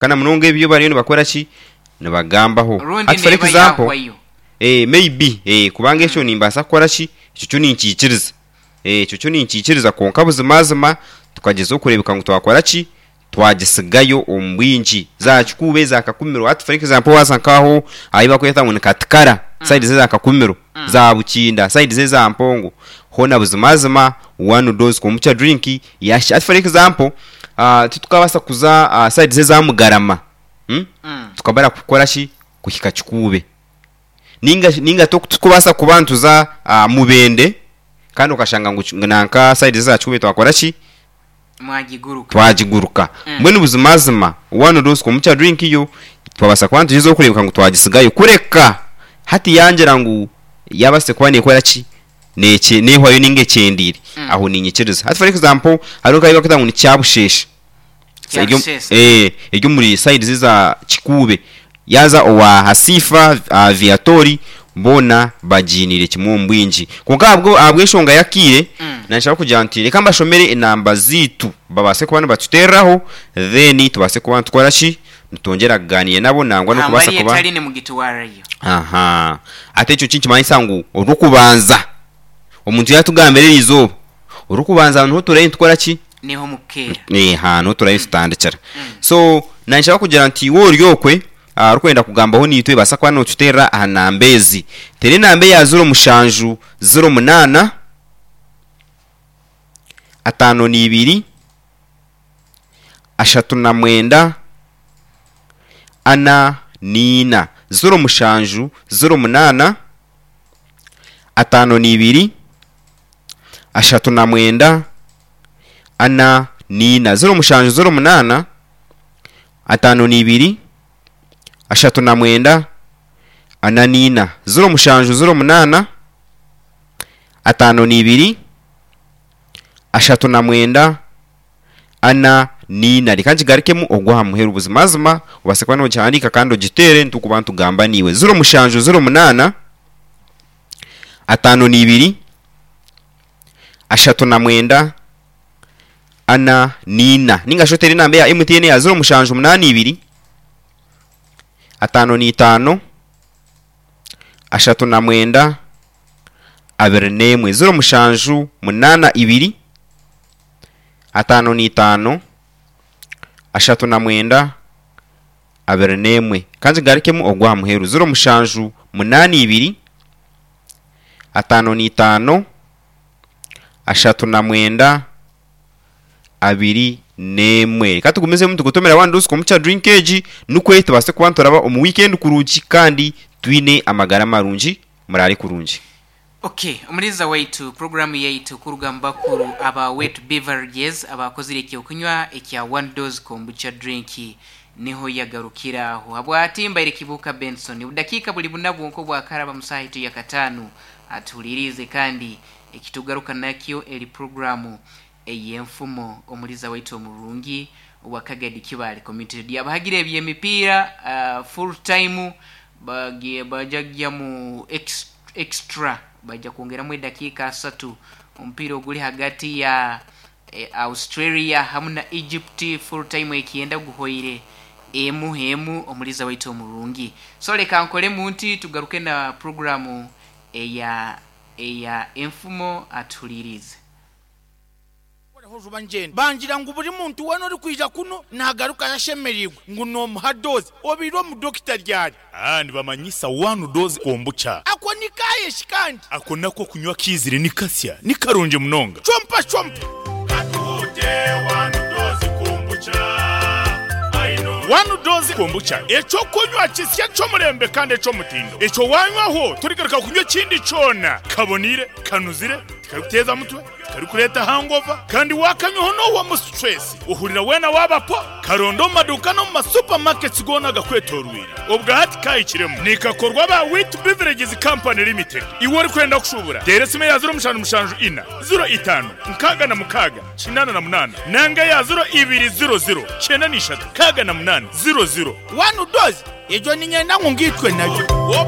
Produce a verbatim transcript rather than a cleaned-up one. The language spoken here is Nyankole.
Kana munonga ebyo bariyo nibakora ki? Nibagambaho. Rundi Hati for neeba example, yahwayo. eh, maybe eh, kubanga ekyo nimbaasa kukora ki? Ekyo kyo ninkiikiriza. Eh, ekyo kyo ninkiikiriza kwonka buzimazima tukagyezaho kureebeka ngu twakora ki? Twagisigayo omu bwingi. Za Kikuube, za Kakumiro, hati for example waaza nk'aho ahu barikweta ngu ni Katikara, sayidi z'eza Kakumiro, za Bukinda, sayidi z'eza Mpongo, hoona buzimazima one dose kombucha drink yahikire. Hati for example, ah, titukabaasa kuza ah, sayidi z'eza Mugarama, hmm? Mm. Tukabara kukora ki? Kuhika Kikuube. Ninga ninga titukubaasa kuba nituza ah, Mubende kandi okashanga ngu ki- nanka sayidi z'eza Kikuube twakora ki? Mwagiguruka. Twagiguruka. Mm. Mbwenu buzimazima one dose kombucha drink yo twabaasa kuba nitugyezaho kureebeka ngu twagisigayo, kureka hati yangira ngu yabaase kuba neekora ki, Neekye neehwayo ninga ekyendiire, Mm. aho niinyikiriza. Hati for example, hariho nk'ahu barikweta ngu ni Kyabusheesha. Eri omu- Kyabusheesha. eh, eri omuri sayidi z'eza Kikuube. Yaaza owa Hasifa, uh, Viatori, boona bagiiniire kimwe omu bwingi. Kwonka ahabwo ahabw'enshonga y'akaire, Mm. nanshaba kugira nti reka mbashomere enamba zaitu babaase kuba nibatuteereraho, then tubaase kuba nitukora ki? Nitwongyera kugaaniira nabo nangwa n'okubaasa Hambari kuba etali nimugitwarayo. Aha. Ate ekyo kinikimanyisa ngu orw'okubanza omuntu yaatugambira eriizooba, orw'okubanza niho turabe nitukora ki? Niho mukukeera. Eha, niho turabe nitutandikira. Mm. So nanshaba kugira nti iwe ori okwe ah, orikwenda kugambaho naitwe baasa kuba nootuteerera aha namba ezi. Teera enamba eya ziro mushanju ziro munaana ataano n'ibiri ashatu na mwenda ana n'ina. Ziro mushanju ziro munaana ataano n'ibiri ashatu na mwenda ana n'ina. Ziro mushanju ziro munaana ataano n'ibiri ashatu na mwenda ana n'ina. Ziro mushanju ziro munaana ataano n'ibiri ashatu na mwenda ana n'ina. Reka nkigarukemu ogwo aha muheru buzimazima obaase kuba noogihandiika kandi ogiteere nitukuba nitugamba naiwe. Ziro mushanju ziro munaana ataano n'ibiri ashatu na mwenda ana n'ina. Ninga shi oteere enamba eya M T N ya ziro mushanju munaana ibiri ataano n'itaano ashatu na mwenda abiri n'emwe. Ziro mushanju munaana ibiri ataano n'itaano ashatu na mwenda abiri n'emwe. Ka nkigarukemu ogwo aha muheru. Ziro mushanju munaana ibiri ataano n'itaano ashatu na mwenda abiri n'emwe. Reka tugumizemu tugutomera one dose kombucha drink egi nikwe tubaase kuba nituraba omu weekend kurungi kandi twine amagara marungi. Muraare kurungi. Okay, omuliza waitu, programu yaitu kuruga mu bakuru aba Wet Beverages abakozire ekyokunywa ekya one dose kombucha drink niho yagarukira aho. Habwati mbaire Kibuka Benson. Budakiika buli buna bwonko bwakaraba musaha itu ya kataano atuhulirize, kandi ekitugaruka nakyo eri programu ey'enfumo. Omuliza waitu omurungi owa Kagadi Kibale Community Radio, abahagira eby'emipiira, uh, full time bagiye bajagya mu ex, extra bajja kwongeramu edakiika asatu. Omupiira oguli hagati ya eh, Australia hamu na Egypt, full time ekyenda guhoire emu emu. Omuliza waitu omurungi, so leka nkolemu nti tugaruke na programu eya eya enfumo, atuhulirize. Hojuba ngenda bangira ngu buri muntu wena ori kwija kuno nagaruka yashemerirwe ngu nomuha dozi obiire omudokita ryari. Ah, nibamanyisa one dose kombucha. Ako nikayeshi kandi? Ako nako kunywa kiizire ni kasya ni karungi munonga. Chompa chompa. Katuhute one dose kombucha. One dose kombucha ekyokunywa kisya ky'omurembe kandi eky'omutindo, ekyo wanywaho torigaruka kunywa ekindi kyona. Kabonire, kanuzire, tikarikuteeza mutwe, tikarikureeta hangover, kandi wakanywaho n'owamu stress ohurira weena wabapo. Karonda omu maduuka n'omu masupermarkets goona agakwetorwire. Obwa hati kahikiremu nikakorwa ba Wit Beverages Company Limited. Iwe orikwenda kushubura, teera esimu ya ziro mushanju mushanju ina ziro itaano nkaaga na mukaaga kinaana na munaana nanga ya ziro ibiri ziro ziro kyenda n'ishatu kaaga na munaana ziro ziro. One dose ejo ninyenda ngu ngitwe nayo.